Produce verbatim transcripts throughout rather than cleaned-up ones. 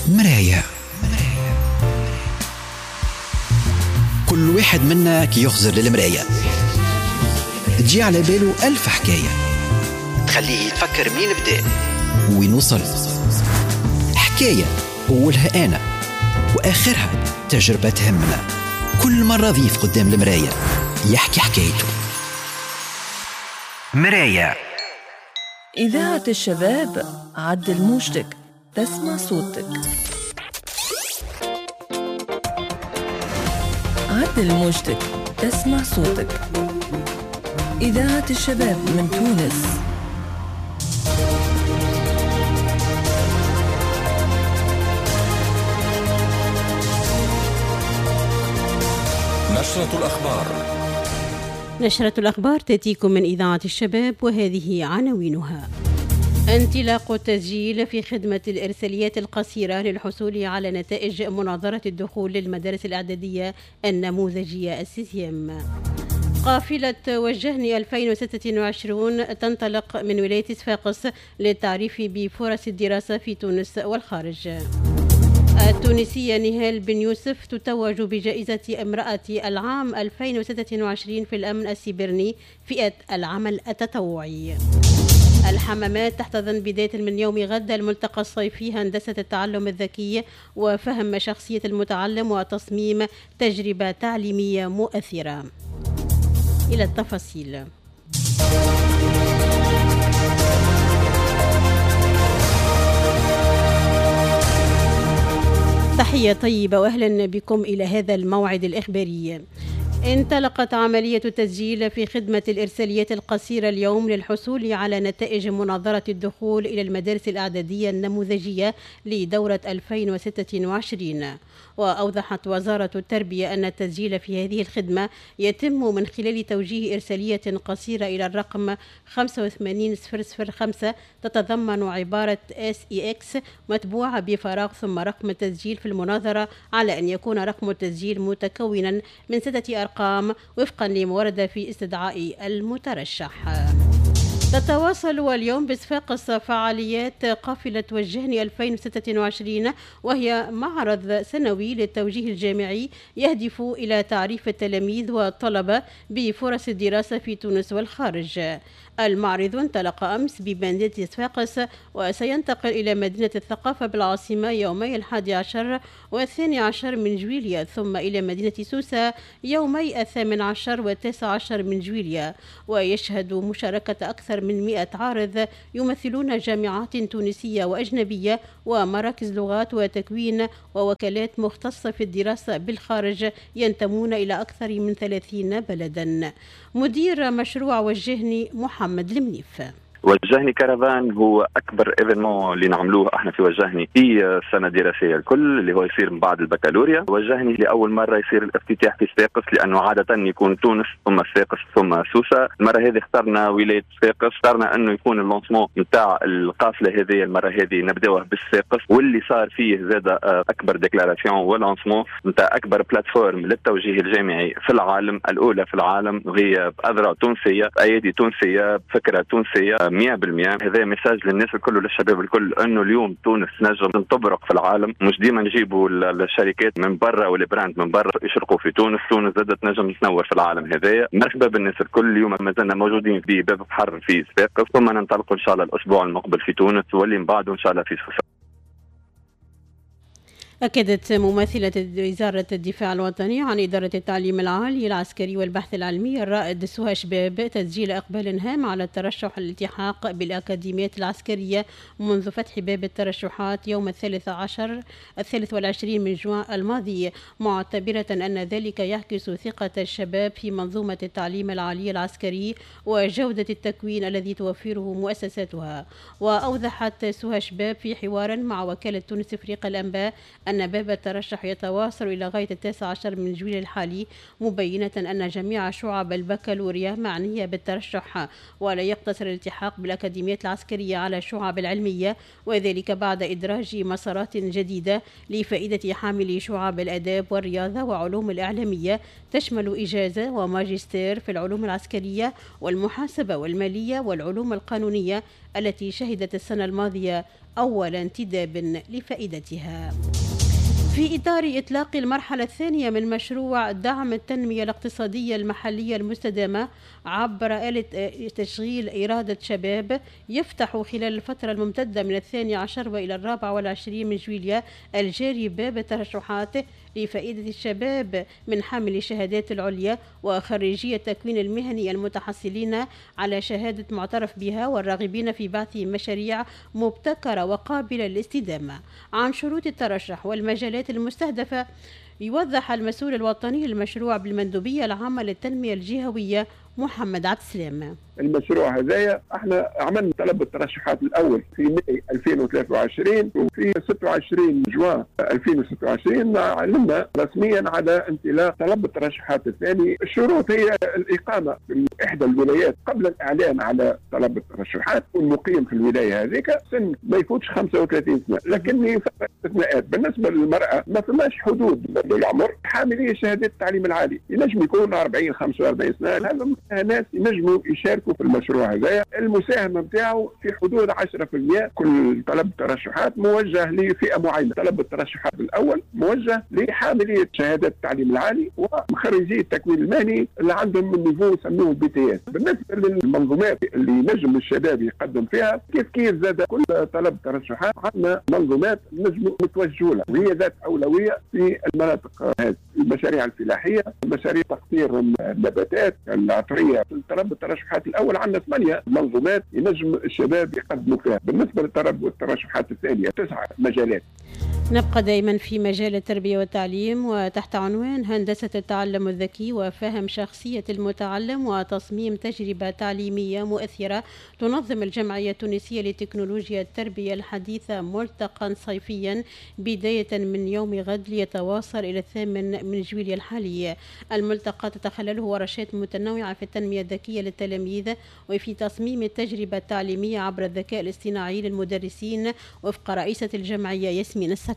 مرايا. كل واحد منا كي يخزر للمراية تجي على باله ألف حكاية تخليه يتفكر مين بدأ وين وصل. حكاية أولها أنا وآخرها تجربة تهمنا. كل مرة ضيف قدام المراية يحكي حكايته. مرايا. إذاعة الشباب، عدل موجتك تسمع صوتك. عدل موجتك تسمع صوتك. إذاعة الشباب من تونس. نشرة الأخبار. نشرة الأخبار تأتيكم من إذاعة الشباب وهذه عناوينها. انطلاق التسجيل في خدمة الإرساليات القصيرة للحصول على نتائج مناظرة الدخول للمدارس الإعدادية النموذجية السيزيام. قافلة وجهني ألفين وستة وعشرين تنطلق من ولاية صفاقس للتعريف بفرص الدراسة في تونس والخارج. التونسية نهال بن يوسف تتوج بجائزة امرأة العام ألفين وستة وعشرين في الأمن السيبرني فئة العمل التطوعي. الحمامات تحتضن بداية من يوم غد الملتقى الصيفي هندسة التعلم الذكي وفهم شخصية المتعلم وتصميم تجربة تعليمية مؤثرة. إلى التفاصيل. تحية طيبة وأهلا بكم إلى هذا الموعد الإخباري. انطلقت عملية التسجيل في خدمة الإرساليات القصيرة اليوم للحصول على نتائج مناظرة الدخول إلى المدارس الإعدادية النموذجية لدورة ألفين وستة وعشرين. وأوضحت وزارة التربية أن التسجيل في هذه الخدمة يتم من خلال توجيه إرسالية قصيرة إلى الرقم خمسة وثمانين صفر صفر خمسة تتضمن عبارة إس إي إكس متبوعة بفراغ ثم رقم التسجيل في المناظرة، على أن يكون رقم التسجيل متكونا من ستة أرقام وفقا لما ورد في استدعاء المترشح. تتواصل اليوم بصفاقس فعاليات قافلة وجهني ألفين وستة وعشرين، وهي معرض سنوي للتوجيه الجامعي يهدف إلى تعريف التلاميذ والطلبة بفرص الدراسة في تونس والخارج. المعرض انطلق أمس بمدينة صفاقس وسينتقل إلى مدينة الثقافة بالعاصمة يومي الحادي عشر والثاني عشر من جويليا، ثم إلى مدينة سوسة يومي الثامن عشر والتاسع عشر من جويليا. ويشهد مشاركة أكثر من مئة عارض يمثلون جامعات تونسية وأجنبية ومراكز لغات وتكوين ووكالات مختصة في الدراسة بالخارج ينتمون إلى أكثر من ثلاثين بلدا. مدير مشروع وجهني محمد المنيف. وجهني كارافان هو اكبر événement اللي نعملوه احنا في وجهني في السنة الدراسية الكل، اللي هو يصير من بعد البكالوريا. وجهني لاول مرة يصير الافتتاح في صفاقس، لانه عادة يكون تونس ثم صفاقس ثم سوسة. المرة هذه اخترنا ولاية صفاقس، اخترنا انه يكون ال lancement نتاع القافلة هذه المرة هذه نبداوه بالصفاقس، واللي صار فيه زاد اكبر déclaration و lancement نتاع اكبر plateforme للتوجيه الجامعي في العالم، الاولى في العالم، وهي باذرع تونسية، بايادي تونسية، بفكره تونسية مئة بالمئة. هذا message للناس الكل وللشباب الكل انه اليوم تونس نجم تبرق في العالم، مش ديما نجيبوا الشركات من برا وال brand من برا يشرقوا في تونس، تونس زادت نجم تنور في العالم هذايا. مرحبا بالناس الكل، اليوم مازلنا موجودين في باب بحر في صفاقس، ثم ننطلقوا ان شاء الله الاسبوع المقبل في تونس واللي من بعده ان شاء الله في سوسة. أكدت ممثلة وزارة الدفاع الوطني عن إدارة التعليم العالي العسكري والبحث العلمي الرائد سهى شباب تسجيل إقبال هام على الترشح للالتحاق بالأكاديميات العسكرية منذ فتح باب الترشحات يوم الثالث عشر الثالث والعشرين من جوان الماضي، معتبرة أن ذلك يعكس ثقة الشباب في منظومة التعليم العالي العسكري وجودة التكوين الذي توفره مؤسساتها. وأوضحت سهى شباب في حوار مع وكالة تونس إفريقيا الأنباء أن باب الترشح يتواصل إلى غاية التاسع عشر من جويلية الحالي، مبينة أن جميع شعب البكالوريا معنية بالترشح، ولا يقتصر الالتحاق بالأكاديميات العسكرية على الشعب العلمية، وذلك بعد إدراج مسارات جديدة لفائدة حاملي شعب الآداب والرياضة وعلوم الإعلامية، تشمل إجازة وماجستير في العلوم العسكرية والمحاسبة والمالية والعلوم القانونية التي شهدت السنة الماضية أول انتداب لفائدتها. في إطار إطلاق المرحلة الثانية من مشروع دعم التنمية الاقتصادية المحلية المستدامة عبر آلة تشغيل إرادة شباب، يفتح خلال الفترة الممتدة من الثاني عشر وإلى الرابع والعشرين من جويلية الجاري باب الترشحات لفائدة الشباب من حامل الشهادات العليا وخريجي التكوين المهني المتحصلين على شهادة معترف بها والراغبين في بعث مشاريع مبتكرة وقابلة للاستدامة. عن شروط الترشح والمجالات المستهدفة يوضح المسؤول الوطني للمشروع بالمندوبية العامة للتنمية الجهوية محمد عبد السلام. المشروع هذايا احنا عملنا طلب الترشحات الاول في ماي ألفين وثلاثة وعشرين، وفي ستة وعشرين جوان ألفين وستة وعشرين اعلنا رسميا على انطلاق طلب الترشحات الثاني. الشروط هي الاقامة في احدى الولايات قبل الاعلان على طلب الترشحات، والمقيم في الولاية هذيك سن ما يفوتش خمسة وثلاثين سنة، لكن استثناءات. بالنسبة للمراة ما فماش حدود للعمر، حاملي شهادات التعليم العالي ينجم يكون أربعين خمسة وأربعين سنة، هذا ناس ينجموا يشاركوا في المشروع هذايا. المساهمة نتاعو في حدود عشرة بالمئة. كل طلب ترشحات موجه لفئة معينة. طلب الترشحات الاول موجه لحاملي شهادات التعليم العالي وخريجي التكوين المهني اللي عندهم من niveau يسموه BTS. بالنسبة للمنظومات اللي نجم الشباب يقدم فيها كيف كيف زاد كل طلب ترشحات عندنا منظومات نجم نتوجهوا لها، وهي ذات اولوية في المناطق هذه، المشاريع الفلاحية، مشاريع تقطير النباتات العطريه. طلب الترشحات الاول عندنا ثمانية منظومات ينجم الشباب يقدموا فيها. بالنسبة للطلب والترشحات الثانية تسعة مجالات. نبقى دائما في مجال التربية والتعليم وتحت عنوان هندسة التعلم الذكي وفهم شخصية المتعلم وتصميم تجربة تعليمية مؤثرة. تنظم الجمعية التونسية لتكنولوجيا التربية الحديثة ملتقى صيفيا بداية من يوم غد ليتواصل إلى الثامن من جويلية الحالي. الملتقى تتخلله ورشات متنوعة في التنمية الذكية للتلاميذ وفي تصميم التجربة التعليمية عبر الذكاء الاصطناعي للمدرسين وفق رئيسة الجمعية ياسمين السكلي.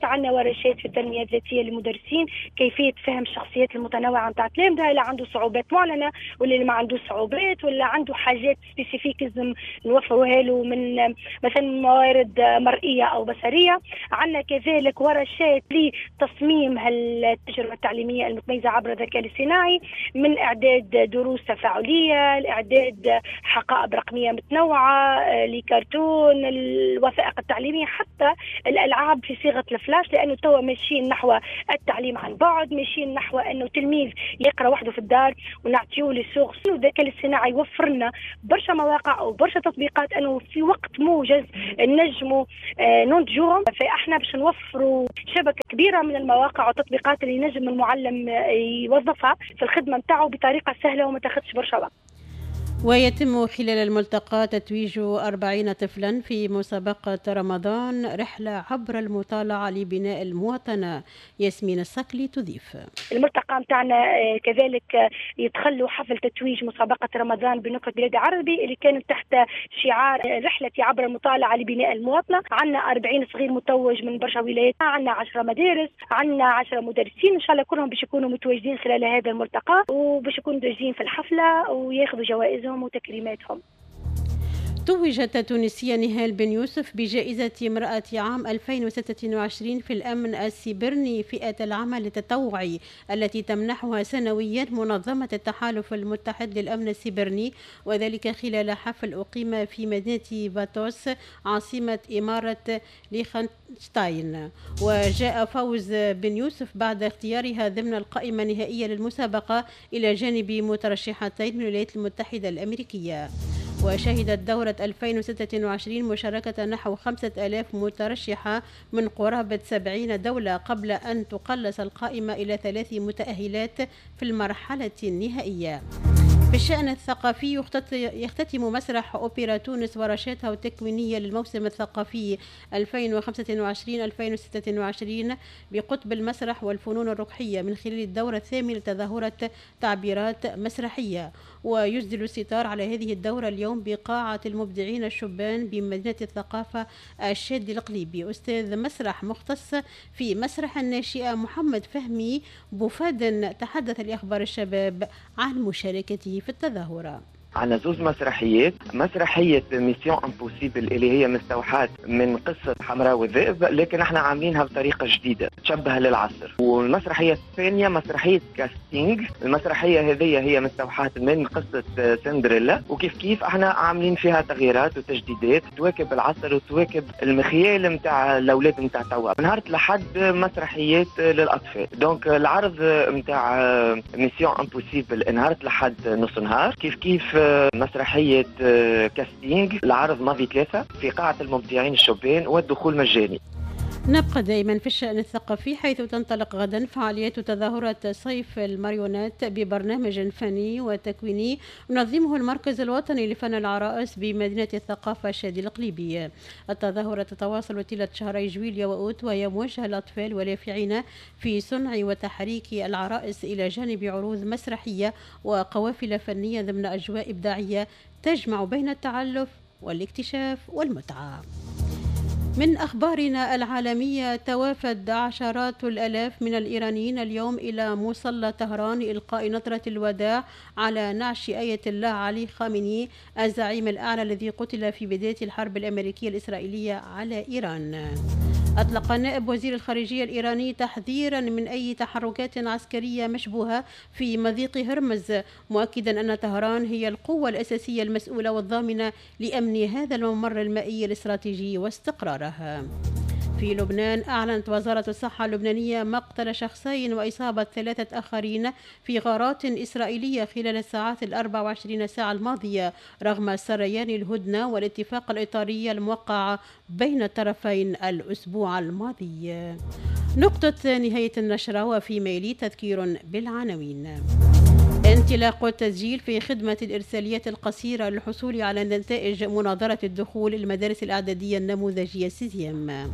عندنا ورشات في التنمية الذاتية للمدرسين، كيفية فهم الشخصيات المتنوعة نتاع التلامذه، اللي عنده صعوبات معلنة ولا اللي ما عنده صعوبات، ولا عنده حاجات spécifiques نوفروها له من مثلا موارد مرئية او بصريه. عندنا كذلك ورشات لتصميم التجربة التعليمية المتميزة عبر الذكاء الاصطناعي، من اعداد دروس تفاعلية، لاعداد حقائب رقمية متنوعة، لكرتون، الوثائق التعليمية، حتى الالعاب في صيغة الفلاش، لانه توا ماشيين نحو التعليم عن بعد، ماشيين نحو انه تلميذ يقرا وحده في الدار ونعطيوه les sources. والذكاء الاصطناعي يوفر لنا برشا مواقع وبرشا تطبيقات انه في وقت موجز نجموا ننتجوهم. فاحنا باش نوفروا شبكة كبيرة من المواقع والتطبيقات اللي نجم المعلم يوظفها في الخدمة نتاعو بطريقة سهلة وما تاخذش برشا وقت. ويتم خلال الملتقى تتويج أربعين طفلا في مسابقة رمضان رحلة عبر المطالعة لبناء المواطنة. ياسمين الصقلي تضيف. الملتقى متاعنا كذلك يدخلوا حفل تتويج مسابقة رمضان بنكهة بلاد عربي اللي كانت تحت شعار رحلة عبر المطالعة لبناء المواطنة. عندنا أربعين صغير متوج من برشا ولايات، عندنا عشرة مدارس، عندنا عشرة مدرسين، إن شاء الله كلهم باش يكونوا متواجدين خلال هذا الملتقى وباش يكونوا متواجدين في الحفلة وياخذوا جوائزهم وتكريماتهم. توجت التونسية نهال بن يوسف بجائزة امرأة عام ألفين وستة وعشرين في الأمن السيبرني فئة العمل التطوعي التي تمنحها سنويا منظمة التحالف المتحد للأمن السيبرني، وذلك خلال حفل أقيم في مدينة فاتوس عاصمة إمارة ليخنشتاين. وجاء فوز بن يوسف بعد اختيارها ضمن القائمة النهائية للمسابقة إلى جانب مترشحتين من الولايات المتحدة الأمريكية. وشهدت دورة ألفين وستة وعشرين مشاركة نحو خمسة آلاف مترشحة من قرابة سبعين دولة قبل أن تقلص القائمة إلى ثلاث متأهلات في المرحلة النهائية. في الشأن الثقافي يختتم مسرح أوبرا تونس ورشاتها التكوينية للموسم الثقافي ألفين وخمسة وعشرين ألفين وستة وعشرين بقطب المسرح والفنون الركحية من خلال الدورة الثامنة لتظاهرة تعبيرات مسرحية. ويسدل الستار على هذه الدورة اليوم بقاعة المبدعين الشبان بمدينة الثقافة الشادي القليبي. أستاذ مسرح مختص في مسرح الناشئة محمد فهمي بوفادن تحدث لأخبار الشباب عن مشاركته في التظاهرة. عندنا زوز مسرحيات، مسرحية Mission Impossible اللي هي مستوحاة من قصة حمراء والذئب، لكن احنا عاملينها بطريقة جديدة تشبه للعصر. والمسرحية الثانية مسرحية Casting، المسرحية هذه هي مستوحاة من قصة سندريلا، وكيف كيف احنا عاملين فيها تغييرات وتجديدات تواكب العصر وتواكب المخيال نتاع الاولاد نتاع توا. نهار لحد مسرحيات للاطفال، donc العرض نتاع Mission Impossible نهار لحد نص نهار، كيف كيف مسرحية Casting العرض ماضي ثلاثة في قاعة المبدعين الشبان والدخول مجاني. نبقى دائما في الشأن الثقافي، حيث تنطلق غدا فعاليات تظاهرة صيف الماريونات ببرنامج فني وتكويني ينظمه المركز الوطني لفن العرائس بمدينة الثقافة الشادي القليبي. التظاهرة تتواصل طيلة شهري جويليا وأوت، وهي موجهة للأطفال واليافعين في صنع وتحريك العرائس إلى جانب عروض مسرحية وقوافل فنية ضمن أجواء إبداعية تجمع بين التعلف والاكتشاف والمتعة. من أخبارنا العالمية، توافد عشرات الآلاف من الإيرانيين اليوم إلى مصلى طهران لإلقاء نظرة الوداع على نعش آية الله علي خامنئي الزعيم الأعلى الذي قتل في بداية الحرب الأمريكية الإسرائيلية على إيران. أطلق نائب وزير الخارجية الإيراني تحذيرا من أي تحركات عسكرية مشبوهة في مضيق هرمز، مؤكدا أن طهران هي القوة الأساسية المسؤولة والضامنة لأمن هذا الممر المائي الاستراتيجي واستقراره. في لبنان، أعلنت وزارة الصحة اللبنانية مقتل شخصين وإصابة ثلاثة آخرين في غارات إسرائيلية خلال الساعات الأربع وعشرين ساعة الماضية، رغم سريان الهدنة والاتفاق الإطاري الموقع بين الطرفين الأسبوع الماضي. نقطة نهاية النشرة، وفي ميلي تذكير بالعناوين. انطلاق التسجيل في خدمة الإرساليات القصيرة للحصول على نتائج مناظرة الدخول للمدارس الإعدادية النموذجية sixième.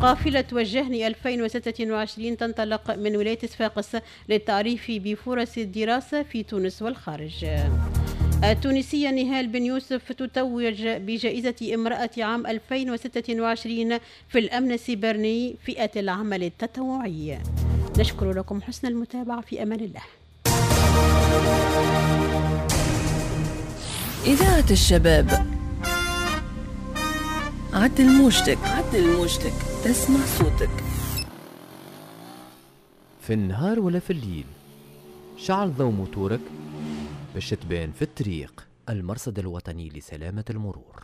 قافلة وجهني ألفين وستة وعشرين تنطلق من ولاية صفاقس للتعريف بفرص الدراسة في تونس والخارج. التونسية نهال بن يوسف تتوج بجائزة امرأة عام ألفين وستة وعشرين في الأمن السيبرني فئة العمل التطوعي. نشكر لكم حسن المتابعة، في أمان الله. إذاعة الشباب، عدل موجتك، عدل موجتك، تسمع صوتك في النهار ولا في الليل. شعل ضوء موتورك باش تبان في الطريق. المرصد الوطني لسلامة المرور.